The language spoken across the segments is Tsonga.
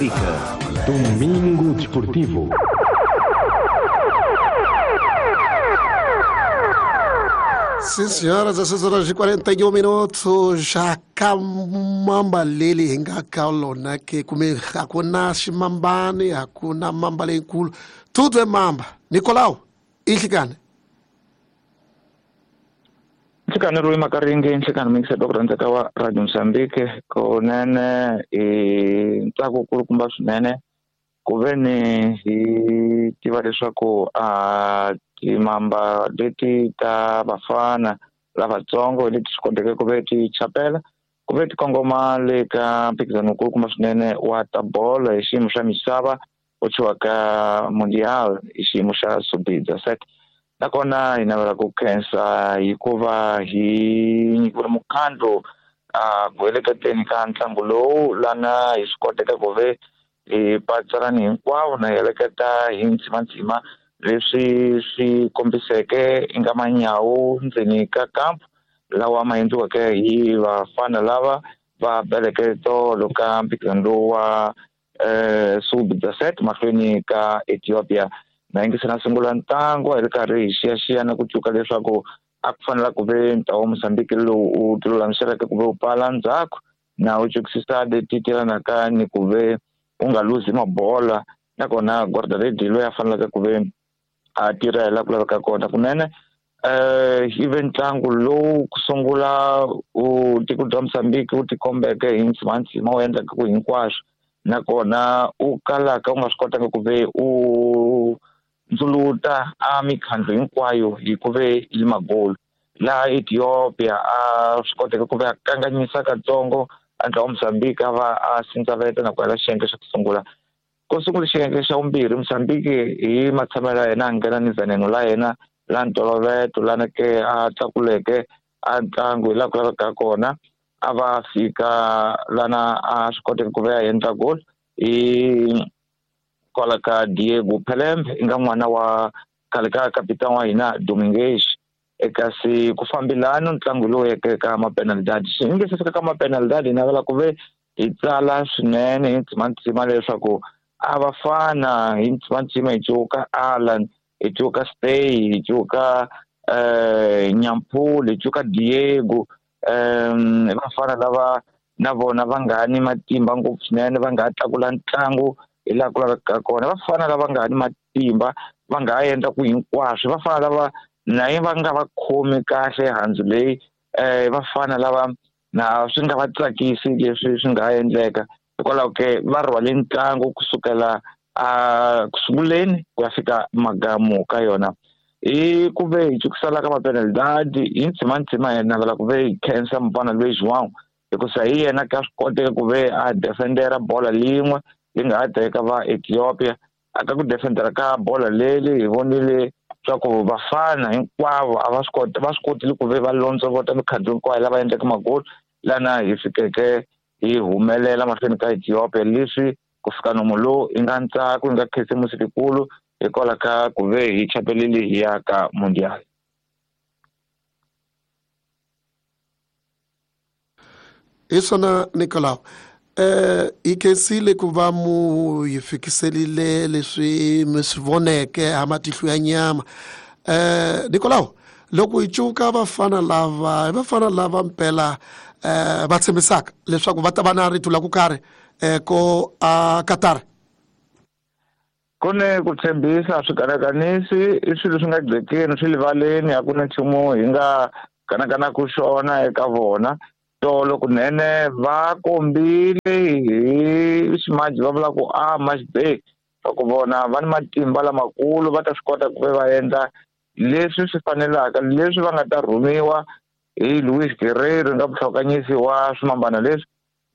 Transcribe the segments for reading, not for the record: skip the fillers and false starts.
Moçambique. Domingo Desportivo. Sim, senhoras, 16 horas e 41 minutos. Já ka mamba leli hi nga ka lona ke kumbe a ku na ximambani, a ku na mamba leyikulu, tudo é mamba. Nicolau, i nhlikani. Nhlikani Rui Makaringi, nhlikani muyingiseri ku rhandzeka wa Radio Mozambique. Kunene i ntsako kulukumba swinene ku ve ni hi tiva leswaku a timamba leti ta vafana lavatsongo leti swi koteke ku ve ti chapela ku ve ti kongoma le ka mphikizano wukulukumba swinene wa ta bolo hi xiyimo xa misava wu thyiwaka Mundial hi xiyimo xa Sub-17. Nakona hi navela ku khensa hikuva hi nyikiwile mukhandlu a ku heleketeni ka ntlangu lowu, lana hi swi koteke ku ve hi patsalani hinkwavo na hi heleketa hi ndzimandzima leswi swi kombiseke i nga manyawu ndzeni ka kampu lawa ma endliweke hi vafana lava va beleke tolo ka mphikizano lowu wa Sub-17 mahlweni ka Ethiopia. Na yingisela sungula ntlangu hi ri karhi hi xiyaxiya na ku tsundzuka leswaku a ku fanela ku ve ntlawa wa Mozambique lowu wu tilulamiseleke ku ve wu pfala ndzhaku na wu tsukisisa leti tirhanaka ni ku ve u nga luzi mabola, nakona guardaredi loyi a faneleke ku ve a tirha hi laha ku laveka kona. Kunene yi ve ntlangu lowu ku sungula u tiko bya Mozambique wu tikombeke hi ndzimandzima wu endlaka ku hinkwaswo, nakona u kalaka u nga swi kotanga ku ve u ndzuluta a mikhandlu hinkwayo hi ku ve yi magolu. Laha Ethiopia a swi koteke ku ve a kanganyisa katsongo a ntlawa wa Mozambique a va a sindzaveta na ku hela xiyenge xa ku sungula. Ku sungula xiyenge xa vumbirhi, Mozambique hi matshamelo ya yena a nghena ni veneno la yena la ntolovelo lana ke a tlakuleke a ntlangu hi laha ku lavekaka kona, a va fika lana a swi koteke ku ve a endla goal hi kwala ka Diego Pelembe, i nga n'wana wa khale ka kapitani wa hina Dominguez. Kasi ku fambelana ntlangu lowu yeke ka mapenalidadi, xi nge se fika ka mapenalidadi, hi navela ku ve hi tsala swinene hi ndzimandzima leswaku a va fana hi ndzimandzima hi cuka Alan, hi cuka Stay, hi cuka Nyampulu, hi cuka Diego, vafana lava na vona va nga ni matimba ngopfu swinene, va nga ha tlakula ntlangu hi laha ku lavekaka kona. Vafana lava nga ni matimba va nga ha endla ku hinkwaswo, vafana lava na va nga va khomi kahle handzu leyi, vafana lava na swi nga va tsakisi leswi swi nga ha endleka. Hikwalaho ke va rhwale ntlangu kusukela a kusunguleni ku ya fika magamu ka yona. Hi ku ve hi tsukisela ka mapenalidadi hi ndzimandzima, hi navela ku ve hi khensa mufana loyi João, hikusa hi yena ka swi koteka ku ve a defendera bola lin'we yi nga ha teka va Ethiopia. A ka ku defendera ka bola leli hi vonile swa ku vafana hinkwavo a va swi koti, va swi kotile ku ve va londzovota mikhandlu hinkwayo lava endleke magoli, lana hi fikeke hi humelela mahlweni ka Ethiopia. Leswi ku fika nomu lowu i nga ntsako, i nga khisimusi likulu hikwalaho ka ku ve hi chapelile hi ya ka Mundial. Hi swona Nicolau, hi khensile ku va mu hi fikiselile leswi mi swi voneke ha matihlo ya nyama. Nicolau, loko hi cuka vafana lava, hi vafana lava mpela va tshembisaka leswaku va ta va na rito la ku karhi ko a Qatar. Ku ni ku tshembisa swi kanakanisi, i swilo swi nga gcekeni, swi livaleni, a ku na nchumu hi nga kanakanaku xona eka vona. Tolo kunene va kombile hi ximaji va vula ku a match day, swa ku vona va ni matimba lamakulu, va ta swi kota ku ve va endla leswi swi fanelaka, leswi va nga ta rhumiwa hi Luis Guerreiro nga vuhlokanyisi wa swimambana leswi.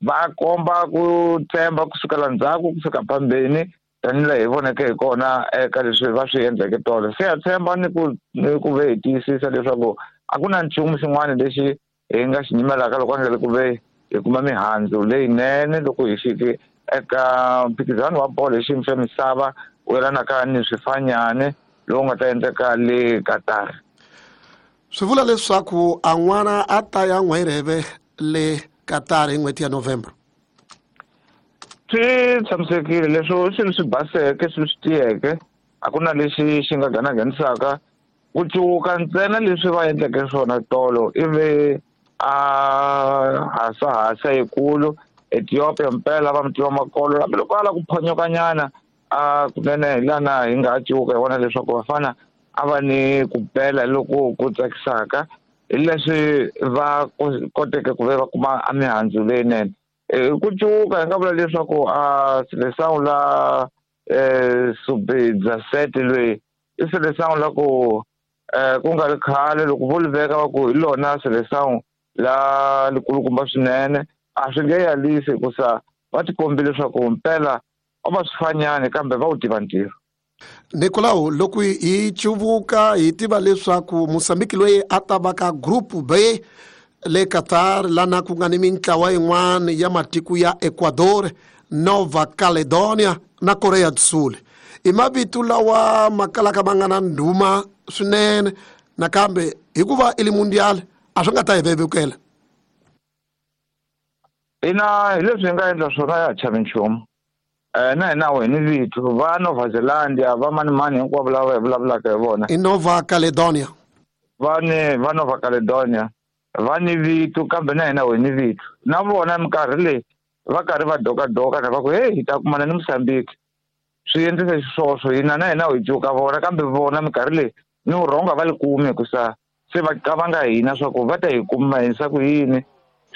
Va komba ku tshemba kusukela ndzhaku ku fika phambeni, tanihi hi voneke hi kona eka leswi va swi endleke tolo. Se ha tshemba ni ku ve hi tiyisisa leswaku a ku na nchumu xin'wana lexi hi nga xi nyimelaka loko a nga le ku ve hi kuma mihandzu leyinene loko hi fike eka mphikizano wa bolo hi xiyimo xa misava wu yelanaka ni swifanyane lowu nga ta endleka le Qatar. Swi vula leswaku a n'wana a ta ya n'wirheve le Qatar hi n'hweti ya November. Swi tshamisekile leswo swilo swi baseke, swilo swi tiyeke, a ku na lexi xi nga ganaganisaka. Ku cuka ntsena leswi va endleke swona tolo ivi a hasahasa yikulu Ethiopia mpela va mutiva makolo, hambi loko a lava ku phonyokanyana a kunene hi lana hi nga cuka hi vona leswaku vafana a va ni ku bela loko ku tsakisaka hi leswi va koteke ku ve va kuma a mihandzu leyinene. Ku cuka hi nga vula leswaku a Seleção la sub-17 loyi i Seleção la ku ku nga ri khale loko vo li veka va ku hi lona Seleção la likulukumba swinene, a swi nge yalisi hikusa va tikombile leswaku mpela a va swi fanyani kambe va wu tiva ntirho. Nicolau, loko hi cuvuka hi tiva leswaku Mozambique loyi a ta va ka group B le Qatar lana ku nga ni mintlawa yin'wana ya matiko ya Ecuador, Nova Caledonia na Korea do Sul. I mavito lawa ma kalaka ma nga na ndhuma swinene, nakambe hikuva i le mundial a swi nga ta hi vevukela. Ina, hi leswi hi nga endla swona ya ha chavi nchumu. Na hina hi ni vito va Nova Zealandia, va manimani hinkwavo lava hi vulavulaka hi vona. I Nova Caledonia. Va ni va Nova Caledonia va ni vito, kambe na hina hi ni vito. Na vona minkarhi leyi va karhi va dokadoka na va ku hey, hi ta kumana ni Mozambique. Swi endlisa xiswoswo, hina na hina hi cuka vona, kambe vona minkarhi leyi ni vurhonga va li kumi hikusa se va qavanga hina swa ku va ta hi kuma hisa ku yini,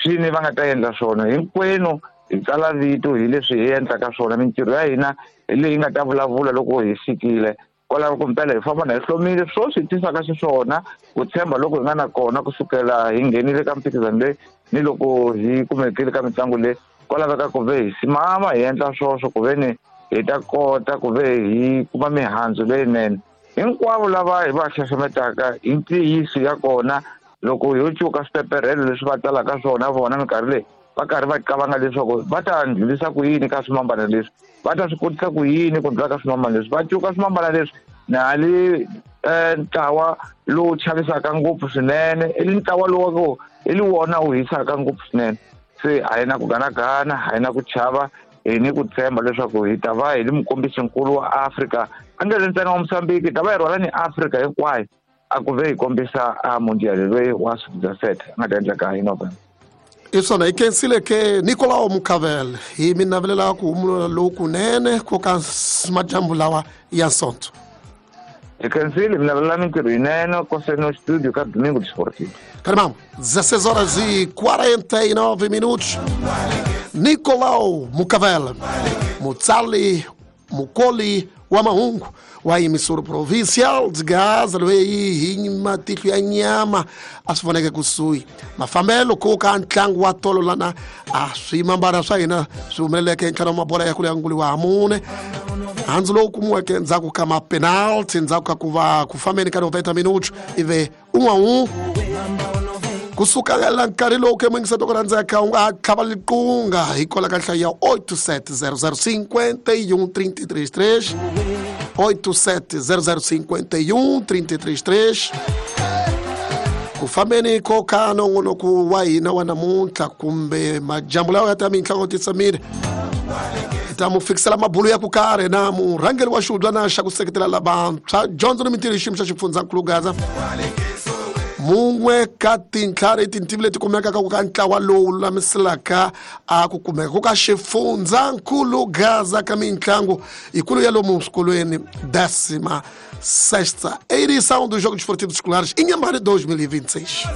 swini va nga ta endla swona. Hinkwenu hi tsala vito hi leswi hi endlaka swona, mintirho ya hina hi leyi nga ta vulavula loko hi fikile kwalaho ku mpela hi famba na hi hlomile. Swo swi tisaka xiswona ku tshemba loko hi nga na kona kusukela hi nghenile ka mphikizano leyi ni loko hi kumekile ka mitlangu leyi, kwalaveka ku ve hi simama hi endla swoswo ku ve ni hi ta kota ku ve hi kuma mihandzu leyinene. Hinkwavo lava hi va xaxametaka hi ntiyiso ya kona, loko ho cuka swipeperhelo leswi va tsalaka swona vona minkarhi leyi va karhi va qavanga leswaku va ta ndlulisa ku yini ka swimambana leswi, va ta swi kotisa ku yini ku ndlula ka swimambana leswi, va cuka swimambana leswi na hali ntlawa lowu chavisaka ngopfu swinene, i ntlawa lowu ku i li wona wu hisaka ngopfu swinene. Se a hi na ku ganagana, a hi na ku chava, hi ni ku tshemba leswaku hi ta va hi li mukombisinkulu wa Afrika, a nge ri ntsena wa Mozambique, hi ta va hi rhwala ni Afrika hinkwayo a ku ve hi kombisa a mundial loyi wa sub-17 a nga ta endleka hi November. I swona, hi khensile ke Nicolau Mucavel, hi mi navelela ku humula lokunene ko ka madyambu lawa ya Sonto. Hi khensile, mi navelela mintirho yinene koseno studio ka Domingo Desportivo. Carmão, 16 horas e 49 minutos. Nicolau Mucavel, mutsali mukoli wa mahungu wa emissora provincial de Gaza loyi hi matihlo ya nyama a swi voneke kusuhi mafambelo ko ka ntlangu wa tolo lana a swimambana swa hina swi humeleleke ntlhanu wa mabola ya kulu ya nguli wa mune, handzu lowu kumiweke endzhaku ka mapenalty endzhaku ka ku va ku fambeni ka 90 minutos ive un'we kusuka la nkarhi lowu ke muyingiseti ku rhandzeka u nga ha tlhava liqunga hi kola ka nhlayo ya 8700 51 333 8700 51 333. Ku fambeni ko ka nongonoko wa hina wa namuntlha kumbe majambu lawa ya ta mintlhango titsamile, hi ta mu fikisela mabulu ya ku karhi na murhangeri wa xihubyana xa ku seketela lavantshwa dyondzo ni mintirho hi xiyimo xa xifundzankulu Gaza, mun'we ka tintlhari tintivi leti kumekaka ku ka ntlawa lowu lulamiselaka a ku kumeka ku ka xifundzankulu Gaza ka mitlangu yikulu ya lomu swikolweni 16ª edição dos Jogos Esportivos Escolares em Inhambane 2026.